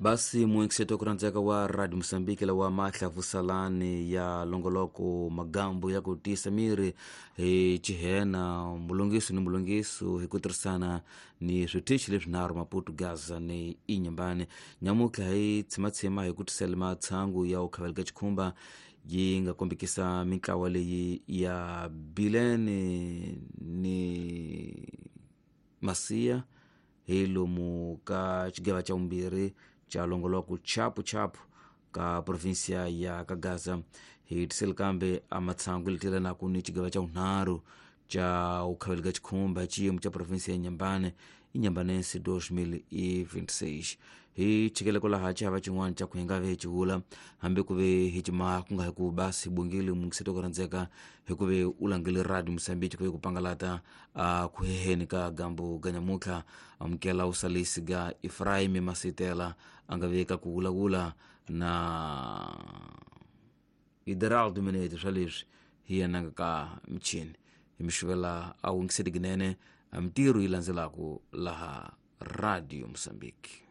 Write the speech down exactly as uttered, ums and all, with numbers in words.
Basi muinkiseto kurandzeka wa Radio Mosambiki lawa mahlavusalani ya longoloko magambo ya ku tiyisa miri hi chihena mulungiso ni mulungiso hi ku tirhisana ni switichi leswinharhu Maputo, Gaza ni Inhambane. Nyamutlha hi tshimatshima hi ku tisela matshangu ya u khaveleka xikhumba yi nga kombekisa mintlawa leyi ya Bilene ni Masiya hi lomu ka xigava xa vumbirhi xa longoloko chapu chapu ka provinsia ya ka Gaza. Hi tiseli kambe a matshangu leti ni xigava xa vunharhu xa u khaveleka xikhumba xiyimo xa provinsia ya Inhambane Inhambanense dois mil e vinte e seis. Hi chikele kwalaha xihava xin'wana xa ku hi nga ve hi xivula hambi ku ve hi cimaha ku nga hi ku basi bongile mungiseto ku rhandzeka hi ku ve u langile Radio Mosambiki ku ve ku pangalata a ku heheni ka gambu ga nyamutlha. Amukela usalisi ga Efraim Masitela a nga ve ka ku vulavula na Ideraldo Minete swa leswi hi yena nga ka michini hi mixivela a wungiseti kunene a mintirho yi landzelaku laha Radio Mosambiki.